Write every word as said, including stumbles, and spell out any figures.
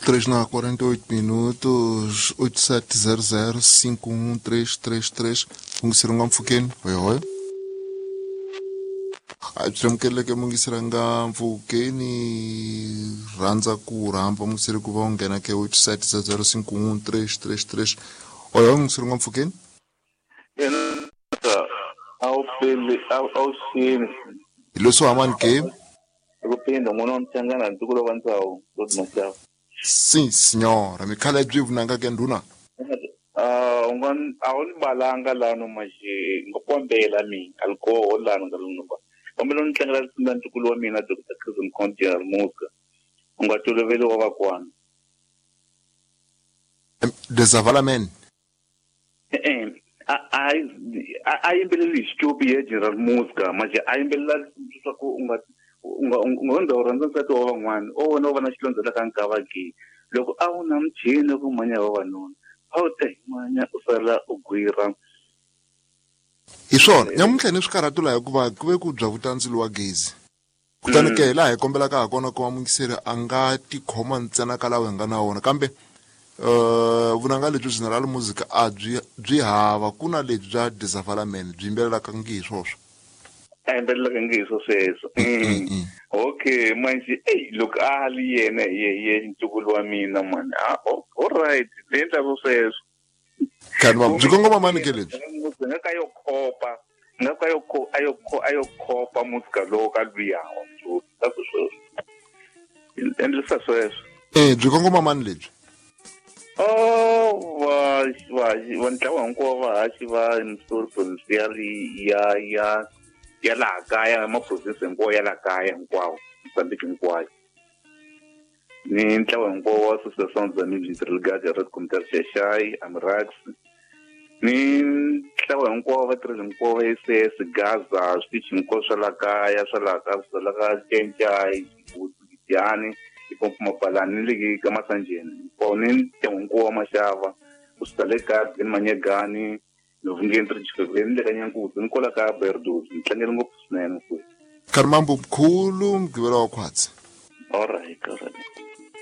três na quarenta e oito minutos, oito sete zero zero cinco um três três três. Mungisiranga mfukeni. Oi, oi. Abyamukele ke mungisiranga mfukeni rhandza ku rhamba mungisiri ku va u nghena ke oito sete zero zero cinco um três três três. Oi, oi, mungisiranga mfukeni. Ao sim. Leswo hamani ke? Kupinda n'wana wa Mchangana ntukulu wa Ntsau Lord Mashava. Sim, senhora. Mikhala byi vunanga ke nduna. Ah, unga a wu ni balanga lano maje ngokombela mi alcohol lano ngalunga. Kombela ni tlangela risimu ntukulu wa mina Doctor Chris Mkhonti Muska. Unga toloveli wa vakwana. Desavalamen. Eh a a yimbeleli hi xitupi ya General Muska maje a yimbelela leswaku unga unga unga u rhandza nsati wa van'wana o wena u va na xilondza la ka nkava ke loko a wu na muchini ku manya vavanuna a wu ta himanya u sala u gwira hi swona nyamuntlha ni swikarhatu laha hikuva ku ve ku bya vutandzilo wa gezi kutani ke hi laha hi kombelaka ha kona ku va mungiseri a nga tikhoma ntsena ka lawa hi nga na wona kambe uh vunanga lebyi General Music a byi byi hava ku na lebyi bya Desavalamen byi yimbelelaka ngi hi swoswo a yimbelelaka ngi hi swo sweswo okay manje ey loko a li yena ye ye ntukulu wa mina mani all right le endla swo sweswo kanti va byi kongoma mani ke lebyi nga ka yo khopa nga ka yo kho ayo kho ayo khopa musika lowo ka luya wa sweswo endlisa sweswo eh byi kongoma mani lebyi Oh, va va va ntlawa hinkwawo vahaxi va story provincial ya ya ya laha kaya ma province hinkwawo ya laha kaya hinkwawo Mozambique hinkwayo ni ntlawa hinkwawo wa Association za Music Red Computer Xexai Amrax ni ntlawa hinkwawo vatirhi hinkwavo va S S Gaza switichi hinkwaswo swa laha kaya swa laha ka swa laha ka Cencai Giyani Mapalani ni le ka Masanjeni hinkwawo ni ntlangu hinkwawo wa Mashava kusuka le ka Glen Manyegani Novungeni Trijikweni ni le ka Nyankuzi ni kwala ka Berdozi ni tlangele ngopfu swinene mfowethu. Kharimambo mkhulu mugqivela wa khwatsi. All right, all right.